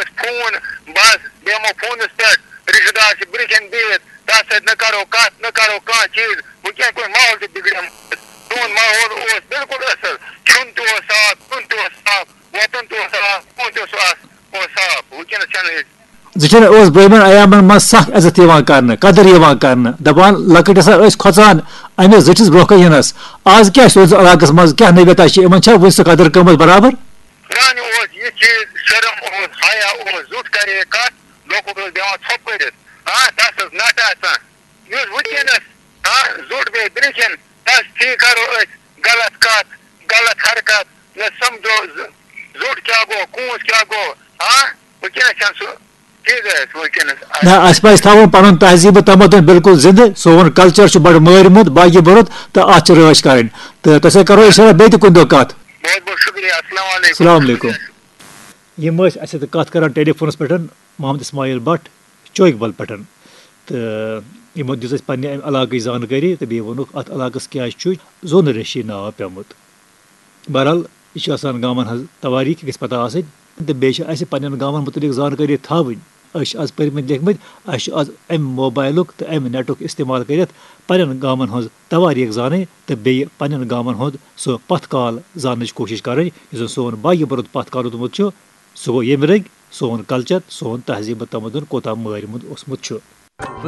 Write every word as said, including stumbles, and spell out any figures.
أسۍ فون، بس بیٚہمو فونس پٮ۪ٹھ، رشتہٕ دار چھِ برٛونٛہہ کِنۍ بِہِتھ، تتھ سۭتۍ نہٕ کرو کتھ، نہٕ کرو کانٛہہ چیٖز۔ وٕنکیٚن کُس ماحول چھُ بِگڑیومُت؟ سون ماحول اوس بِلکُل اصل، کھیوٚن تہِ اوس صاف، چیوٚن تہِ اوس صاف، وۄتھُن تہِ اوس صاف، بِہُن تہِ اوس صاف، اوس صاف۔ وٕنکیٚنس چھنہٕ أسۍ۔ زِ چھِنہٕ اوس برٛونٛہمٮ۪ن ایامن منٛز سخ عزت یِوان کرنہٕ، قدر یِوان کرنہٕ، دپان لۄکٕٹۍ ہسا ٲسۍ کھۄژان أمِس زِٹھِس برٛونٛہہ کَنہِ یِنس۔ از کیٛاہ چھُ تُہنٛدِس علاقس منٛز، کیٛاہ نوعیتا چھِ، یِمن چھا وُنہِ سۄ قدر گٔمٕژ برابر؟ پرٛانہِ اوس یہِ چیٖز، شرم اوس، حیا اوس، زیُٹھ کرے کتھ، لۄکُٹ اوس بیٚہوان ژھۄپہٕ کٔرِتھ۔ ہاں، تس ٲس نٹھ آسان۔ یُس وٕنکیٚنس، ہاں، زیُٹھ بیٚہہِ برٛونٛہہ کِنۍ، تس تھی کرو أسۍ غلط کتھ، غلط حرکت، نہ سمجھو ز-، زیُٹھ کیٛاہ گوٚو، کوٗنٛژھ کیٛاہ گوٚو، ہاں؟ وٕنکیٚنس چھَنہٕ سُہ چیٖزٕے اَسہِ وٕنکیٚنس۔ نہ، اَسہِ پَزِ تھاوُن پَنُن تہذیٖب و تمدُن بِلکُل زِندٕ۔ سون culture چھُ بَڑٕ مٲرمُت، باقی بوٚرُت، تہٕ اَتھ چھِ رٲچھ کَرٕنۍ۔ تہٕ تۄہہِ سۭتۍ کَرو أسۍ بیٚیہِ تہِ کُنہِ دۄہ کَتھ۔ بہت بہت شُکریہ۔ السلام علیکم۔ السلام علیکم۔ یِم ٲسۍ اَسہِ سۭتۍ کَتھ کَران ٹیلی فونَس پٮ۪ٹھ محمد اسماعیل بٹ چوکہِ بل پٮ۪ٹھ۔ تہٕ یِمو دِژ اَسہِ پنٛنہِ اَمہِ علاقٕچ زانکٲری تہٕ بیٚیہِ ووٚنُکھ اَتھ علاقَس کیٛازِ چھُ زوٗنہٕ ریشی ناو پیوٚمُت۔ بہرحال، یہِ چھُ آسان گامَن ہٕنٛز توٲریٖخ گژھِ پَتہ آسٕنۍ، تہٕ بیٚیہِ چھِ اَسہِ پنٛنٮ۪ن گامَن مُتعلِق زانکٲری تھاوٕنۍ۔ أسۍ چھِ آز پٔرۍمٕتۍ لیکھمٕتۍ، اَسہِ چھُ آز اَمہِ موبایلُک تہٕ اَمہِ نیٹُک استعمال کٔرِتھ پنٛنٮ۪ن گامَن ہٕنٛز توٲریٖخ زانٕنۍ تہٕ بیٚیہِ پنٛنٮ۪ن گامَن ہُنٛد سُہ پَتھ کال زاننٕچ کوٗشِش کَرٕنۍ، یُس زَن سون باقی برونٛہہ پَتھ کال روٗدمُت چھُ، سُہ گوٚو ییٚمہِ رٔنٛگۍ سون culture، سون تہذیٖب تہٕ تمدُن کوٗتاہ مٲرمُت اوسمُت چھُ۔